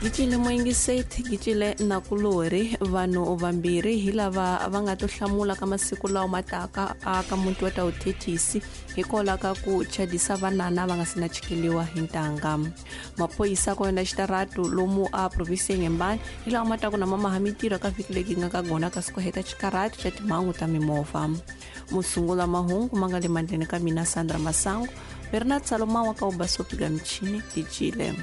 Gicile moyingiseti gicile nakulori vanhu vambirhi hi lava va nga to hlamula ka masiku lawa ma taka aka muti wa ta vuthethisi hikwalaho ka ku chadisa vanana va nga si na chikeliwa hi ntanga. Maphorisa ko endla xitaratu lomu a provinsi ya Inhambane hi lawa ma taku na mamaha mitirho ka vhiki leyi nga ka gona kasi ku heta xikaratu xa timhangu ta mimovha. Musungula mahungu ma nga le mandleni ka mina Sandra Masango, Bernard Salomão wa ka Ubasopi ga michini Gicile.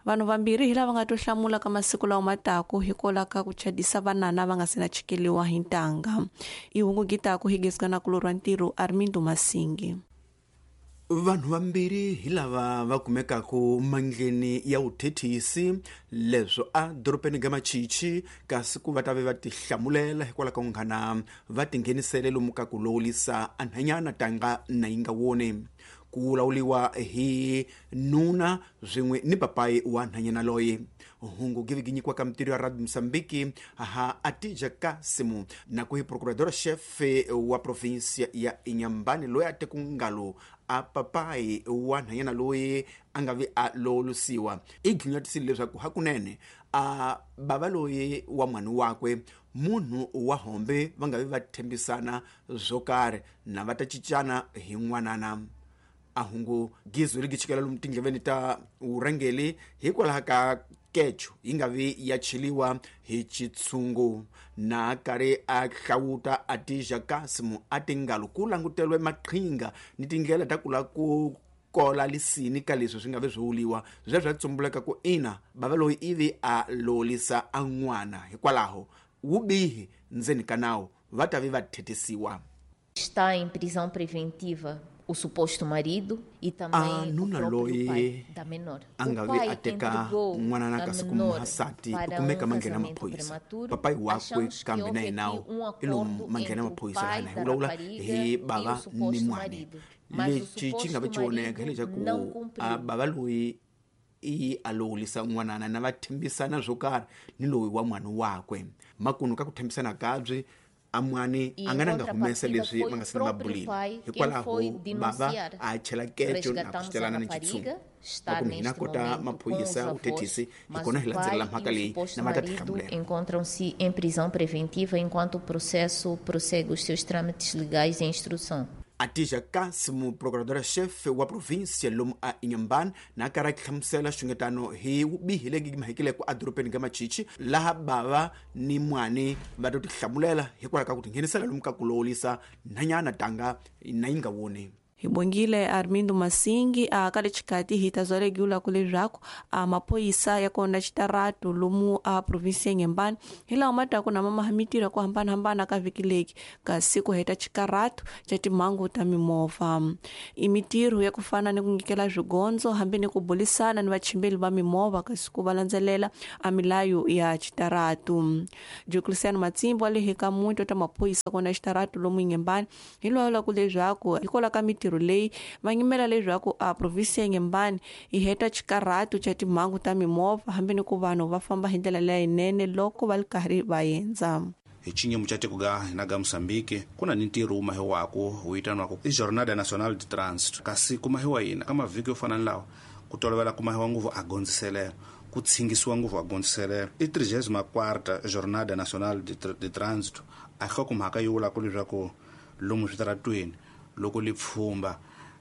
Vanhu vambirhi hi lava nga to hlamula ka masiku lawa ma taku hikwalaho ka ku chadisa vanana va nga si na chikeliwa hi ntanga. I hungu gitaku hi gezi ka nakulorhi wa ntirho Armindo Masingi. Vanhu vambirhi hi lava va kumekaku mandleni ya vuthethisi leswo a dorobeni ga Machichi, kasi ku va ta ve va tihlamulela hikwalaho ka ku nghana va tinghenisele lomu ka ku lowulisa anhanyana tanga na yi nga woni. Ku vulavuriwa hi nuna swin'we ni papayi wa nhanyana loyi. Hungu gi vi nyikiwa ka mitirho ya Radio Mozambique ha Atija Kasimu na ku hi procurador chefe wa provinsia ya Inhambane loyi a te ku ngalo a papayi wa nhanyana loyi a nga vi a lowulusiwa. I ghinyatisile leswaku hakunene a bava loyi wa n'wana wakwe munhu wa hombe va nga vi va tshembisana swo karhi na va ta cincana hi n'wanana. A hungu gizwe ri gichikela lomu tindleveni ta vurhangeri hikwalaho ka kecho yi nga vi ya cheliwa hi xitshungu. Na karhi a hlawuta Atija Kasimu a tingalo ku languteriwe maqhinga ni tindlela ta ku lava ku kola lisini ka leswi swi nga vi swi vuliwa sweswo swa tsumbuleka ku ina bava loyi ivi a lolisa a n'wana hikwalaho wubihi ndzeni ka nawu va ta vi va thetisiwa. Está em prisão preventiva o suposto marido e também a nuna o próprio loyi pai da menor. a nga O vi pai a teka entregou n'wanana a kasi ku menor muhasati u para kumeka um manghena casamento maphorisa. prematuro. Papayi wakwe Achamos que kambe na houve yena aqui um i lomu acordo manghena entre o maphorisa pai lana hi da vulavula rapariga hi e bava o ni suposto n'wana. marido. Mas o Lexi xi nga vi suposto xi voneka marido hileswaku não a cumpriu. bava loyi i a lowulisa n'wanana na va tshembisana swo karhi ni loyi wa n'wana wakwe. Makunu ka ku tshembisana kabyi a mwani E a nga na nga humesa contrapartida leswi foi va o nga se na va próprio bulile. pai quem Hikwalaho foi bava denunciar. a chela kecho na ku Resgatamos a celana ni xitshungu. rapariga, está Makumu hina neste kota momento com os maphorisa avós, vuthethisi hi mas kona o hi landzelela pai mhaka e o leyi suposto na va ta marido tihlamulela. encontram-se em prisão preventiva enquanto o processo prossegue os seus trâmites legais em instrução. Atija Kasimu procuradora-chefe wa província lomu a Inhambane na karhi a hlamusela xungetano hi vubihi lebyi mahekileke edorobeni ga Machichi laha bava ni n'wani va to tihlamulela hikwalaho ka ku tinghenisela lomu ka ku lowulisa nhanyana tanga na yi nga woni. Hi bongile Armindo Masingi a ka le xikati hi ta zwalegiwula ku leswaku a maphorisa ya kona xitaratu lomu a provinsi ya Inhambane hi lawa ma taku na mamaha mitirho ya ku hambanahambana ka vhiki leki kasi ku heta xikaratu xa timhangu ta mimovha. I mitirho ya ku fana ni ku nyikela swigondzo hambi ni ku bulisana ni vachimbeli va mimovha kasi ku va landzelela a milayo ya xitaratu. Diocleciano Matsimbo wa le hi ka muti wa ta maphorisa kona xitaratu lomu Inhambane hi lwala ku leswaku hikwalaho ka mitirho leyi va nyimela leswaku a provinsi ya Inhambane yi heta xikaratu xa timhangu ta mimovha hambi ni ku vanhu va famba hi ndlela leyinene loko va ri karhi va endza. Hi xinyimo xa tiko ga hina ga Mozambique ku na ni ntirho wu mahiwako wu vitaniwaka i Jornada Nacional de Trânsito, kasi ku mahiwa yini ka mavhiki yo fana ni lawa ku tolovela ku mahiwa ngopfu a gondziselelo ku tshingisiwa ngopfu a gondziselelo. I 34ª Jornada Nacional de Trânsito a nhlokomhaka yi vulaka leswaku lomu switaratweni loko li pfhumba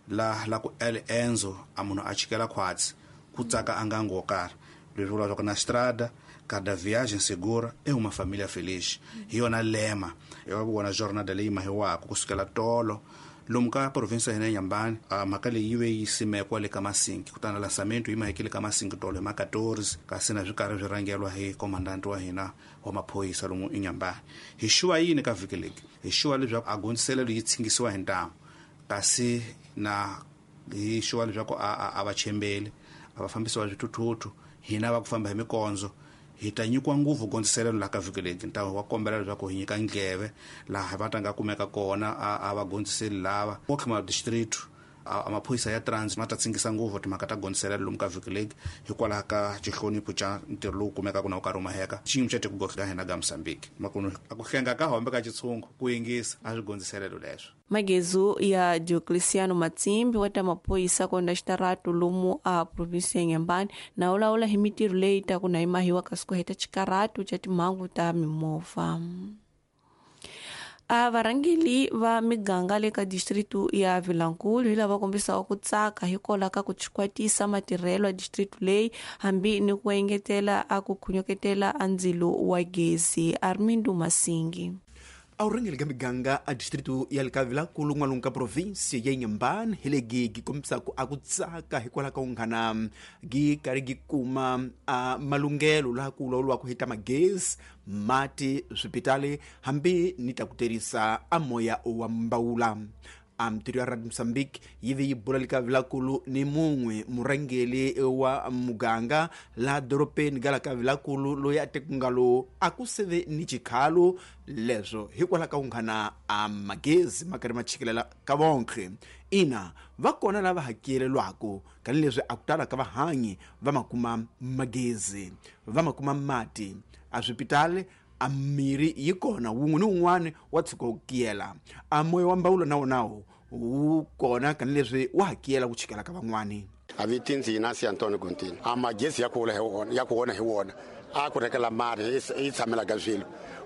la ku el enzo a munhu a chikela khwatsi ku tsaka a ngango wo karhi leswi vula leswaku na strada cada viagem segura é uma família feliz. Hi yona lema ya vona jornada leyi mahiwaka kusukela tolo lomu ka provinsi ya hina ya Inhambane. Mhaka leyi yi ve yi simekiwa le ka Masinki kutani lançamento yi mahekile ka Masinki tolo hi ma 14 kasi na swi karhi swi rhangeriwa hi komandante wa hina wa maphorisa lomu Inhambane. Hi xuwa yini ka vhiki leki? Hi xuwa leswaku a gondziselelo yi tshingisiwa hi ntamu kasi na hi xuwa leswaku a va chembeli a va fambisiwa swithuthuthu hina va ku famba hi mikondzo hi ta nyikiwa ngopfu gondziselelo laha ka vhiki leki. Ntamu wa kombela leswaku hi nyika ndleve laha va ta nga kumeka kona a va gondziseli lava wa Khama district A maphorisa ya trans ma ta tsingisa ngopfu timhaka ta gondziselelo lomu ka vhiki legi hikwalaho ka xihlonipho xa ntirho lowu kumekaka na wu karhi wu maheka xiyimo xa tiko ga hina ga Mozambique makunu a ku hlenga ka hombe ka xitshungu ku yingisa a swi gondziselelo leswo. Magezu ya Diocleciano Matsimbi wa ta maphorisa konda xitaratu lomu a provinsi ya Inhambane na ulawula hi mitirho leyi ta ku na yimahiwa kasi ku heta xikaratu xa timhangu ta mimovha. A varhangeli va miganga le ka distritu ya Vilankulu hi lava kombisaka ku tsaka hikwalaho ka ku chikwatisa matirhelo ya distritu leyi hambi ni ku engetela a ku khunyuketela a ndzilo wa gezi. Armindo Masingi. A vurhangeri ka miganga a distritu ya le ka Vilankulu n'walungu ka provinsi ya Inhambane hi legi gi kombisaka a ku tsaka hikwalaho ka unghana gi karhi gi kuma a malunghelo laha ku vulavuriwaka hi ta magezi, mati, swipitali hambi ni ta ku tirhisa a moya wa mbawula. A mitirho ya Radio Mozambique yi ve yi bula le ka Vilankulu ni mun'we murhangeri wa muganga laha dorobeni ga la ka Vilankulu loyi a tekungalo a ku seve ni xikhalo leswo hikwalaho ka unghana a magezi ma karhi ma chikelela ka vonke. Ina va kona lava hakelelwaka tanihileswi a ku tala ka vahanyi va ma kuma magezi, va ma kuma mati a swipitali, a mirhi yi kona wun'we ni wun'wana wa tshuka wu kiyela. A moya wa mbawulo na wona wu kona tanihileswi wa hakela ku chikela ka van'wani. A vitinzi Inácio Antônio Gontino. A magezi ya ku hi wona, ya ku wona hi wona. A ku rekela mari yi tshamela ka swilo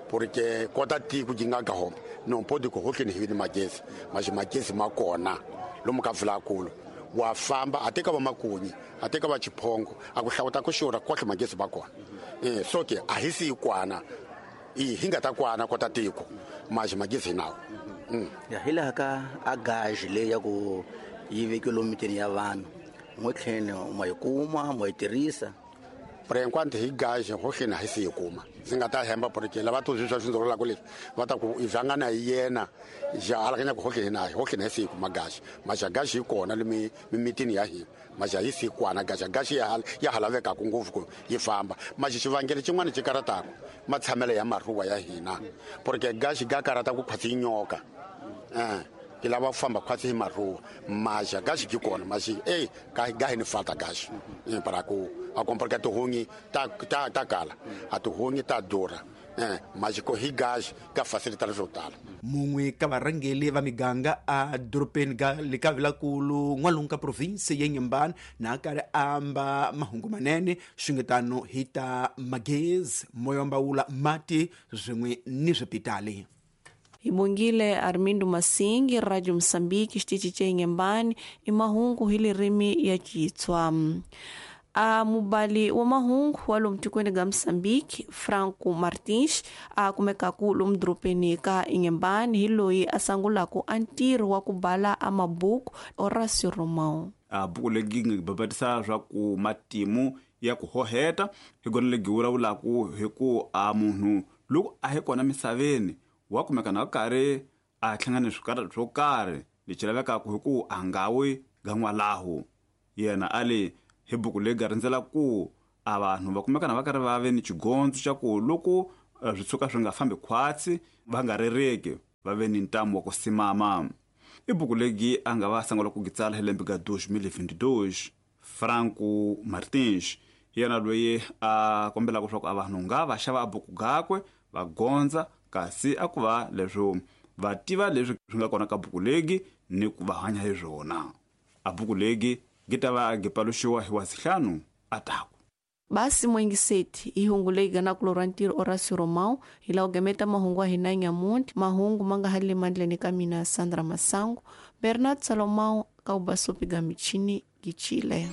porque kota tiko gi nga ka home. Non pode ku hotleni hi ni magezi. Mas magezi ma kona lomu ka Vilankulu. Wa famba a teka va makunyi, a teka va chiphongo, a ku hlawuta ku xurha kohle magezi ba kona. So ke a hi si kwana. I hi nga ta kwana kota tiko mas magezi nawo. Ya hi laha ka a gage leyi ya ku yi vekiwe lomu mitini ya vanhu n'wetlheni ma yi kuma ma yi tirhisa. Por enquanto hi gage hohleni a hi si yi kuma. Ndzi nga ta hemba porque lava to swi swa swindzololaka leswi va ta ku i vangana hi yena ja alakanya ku hohleni na hohleni a hi si yi kuma gage. Mas gage yi kona le mimitini ya hina. Mas a yi si kwana gage, gage ya ha lavekaka ngopfu ku yi famba. Mas xivangelo xin'wana xi karataka matshamelo ya maruwa ya hina porque gage ga karata ku khwatsi yi nyoka. Ki lava ku famba khwatsi hi maruwa. Mas gage yi kona, mas ga hi ni falta gage. Para ku a comprar ka tihunyi ta ta ta kala, a tihunyi ta durha. Mas ko hi gage ka facilita swo tala. Mun'we ka varhangeri va miganga a dorobeni ga le ka Vilankulu n'walungu ka provinsi ya Inhambane na karhi a amba mahungu manene xingetano hi ta magezi, moya wa mbawula, mati swin'we ni swipitali. Hi bongile Armindo Masingi, Radio Mozambique, xitichi xa Inhambane, i mahungu hi ririmi ya Xitswa. A mubali wa mahungu wa lomu tikweni ga Mozambique, Franco Martins, a kumekaku lomu dorobeni ka Inhambane hi loyi a sungulaka a ntirho wa ku bala a mabuku Horácio Romão. A buku legi ngi babatisa swa ku matimu ya ku hoheta hi gona legi vulavulaka hi ku a munhu loko a hi kona misaveni wa kumeka na karhi a hlangana swikarhi swo karhi lexi lavekaka hi ku a nga wi gan'walaho. Yena a le hi buku leyi ga rindzela ku a vanhu va kumeka na va karhi va ve ni xigondzo xa ku loko swi tshuka swi nga fambi khwatsi va nga rereki va ve ni ntamu wa ku simama. I buku legi a nga va sungula ku gitsala hi lembe ga 2022. Franco Martins yena loyi a kombelaka leswaku a vanhu nga va xava a buku gakwe va gondza kasi a ku va leswo va tiva leswi swi nga kona ka buku legi ni ku va hanya hi swona. A buku legi gi ta va gi paluxiwa hi wasihlanu a taku. Basi mwengiseti i hungu leyi ganaku lorwa ntirho Horácio Romão hi laha ku gameta mahungu wa hina nyamuntlha. Mahungu ma nga ha le mandleni ka mina Sandra Masango, Bernard Salomão ka ubasupi ga michini gi Chile.